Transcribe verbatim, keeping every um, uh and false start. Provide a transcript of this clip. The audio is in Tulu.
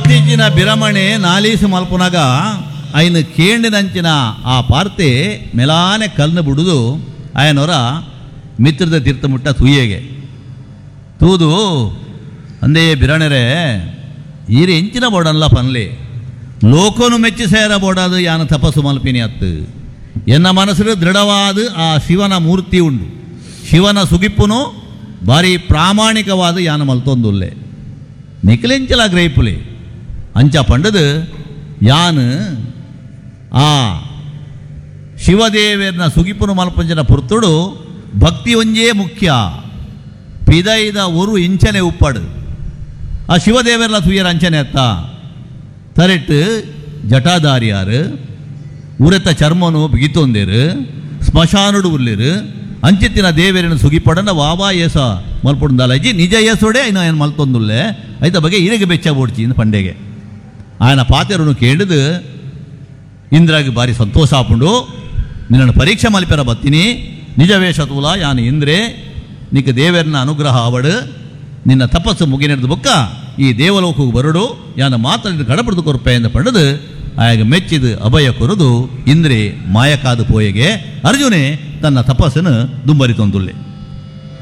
ಬತ್ತಿಜ್ಜಿನ ಬಿರಮಣೆ ನಾಲೀಸು ಮಲ್ಪುನಗ ಐನು ಕೇಂಡಿನಂಚಿನ ಆ ಪಾರ್ತೆ ಮೆಲಾನೆ ಕಲ್ಲು ಬಿಡುದು ಆಯನವರ ಮಿತ್ರದ ತೀರ್ಥ ಮುಟ್ಟ ತೂಯೆಗೆ ತೂದು ಅಂದೇ ಬಿರಣೆರೆ ಈರೆ ಎಂಚಿನ ಬೋಡನ್ಲ ಪನ್ಲೆ ಲೋಕನು ಮೆಚ್ಚಿ ಸೇರ ಬೋಡಾದು ಯಾನ ತಪಸ್ಸು ಮಲ್ಪಿನಿ ಅತ್ತು ಎನ್ನ ಮನಸ್ಸು ದೃಢವಾದ ಆ ಶಿವನ ಮೂರ್ತಿ ಉಂಡು ಶಿವನ ಸುಗಿಪ್ಪುನು ಭಾರಿ ಪ್ರಾಮಾಣಿಕವಾದ ಯಾನ ಮಲ್ತೊಂದುಲ್ಲೆ ನಿಖಿಲೆಂಚಲ ಗ್ರೈಪುಲೆ ಅಂಚ ಪಂಡದು ಯಾನು ಆ ಶಿವದೇವರನ ಸುಗಿಪುನು ಮಲ್ಪಂಜನ ಪುರ್ತುಡು ಭಕ್ತಿ ಒಂಜೇ ಮುಖ್ಯ ಪಿದೈದ ಒರು ಇಂಚನೆ ಉಪ್ಪಡು ಆ ಶಿವದೇವರ್ಲ ತುಯರ ಅಂಚನೆ ಅತ್ತ ತರೆಟ್ಟು ಜಟಾಧಾರಿಯಾರು ಉರೆತ ಚರ್ಮನು ಬಿಗಿತೊಂದೇರು ಸ್ಮಶಾನುಡು ಉರ್ಲಿರು ಅಂಚಿತ್ತಿನ ದೇವರನ್ನು ಸುಗಿಪಡನ ವಾವಾ ಏಸ ಮಲ್ಪೊಂದಲಜ್ಜಿ ನಿಜ ಏಸೋಡೆ ಇನ್ನು ಏನು ಮಲ್ತೊಂದುಲ್ಲೆ ಐತ ಬಗ್ಗೆ ಇರಗೆ ಬೆಚ್ಚ ಬೋಡ್ಚಿ ಇಂದ ಪಂಡೆಗೆ ఆయన ಪಾತೆರನು ಕೇಳಿದು ಇಂದ್ರಾಗಿ ಭಾರಿ ಸಂತೋಷ ಆಪುಂಡು ನಿನ್ನನ್ನು ಪರೀಕ್ಷೆ ಮಲ್ಪೆರ ಬತ್ತೀನಿ ನಿಜ ತೂಲ ಯಾನು ಇಂದ್ರೆ ನಿಕ್ಕ ದೇವರನ ಅನುಗ್ರಹ ಆವಡು ನಿನ್ನ ತಪಸ್ಸು ಮುಗಿನೆಡ್ದು ಬೊಕ್ಕ ಈ ದೇವಲೋಕಕ್ಕೆ ಬರಡು ಯಾನ ಮಾತ್ರ ಕಡಪಡ್ದು ಕೊರ್ಪೆ ಎಂದು ಪಂಡದು ಆಯಾಗ ಮೆಚ್ಚಿದು ಅಭಯ ಕೊರದು ಇಂದ್ರೆ ಮಾಯಕಾದು ಪೋಯೆಗೆ ಅರ್ಜುನೆ ತನ್ನ ತಪಸ್ಸನ್ನು ದುಂಬರಿತೊಂದುಲ್ಲೆ.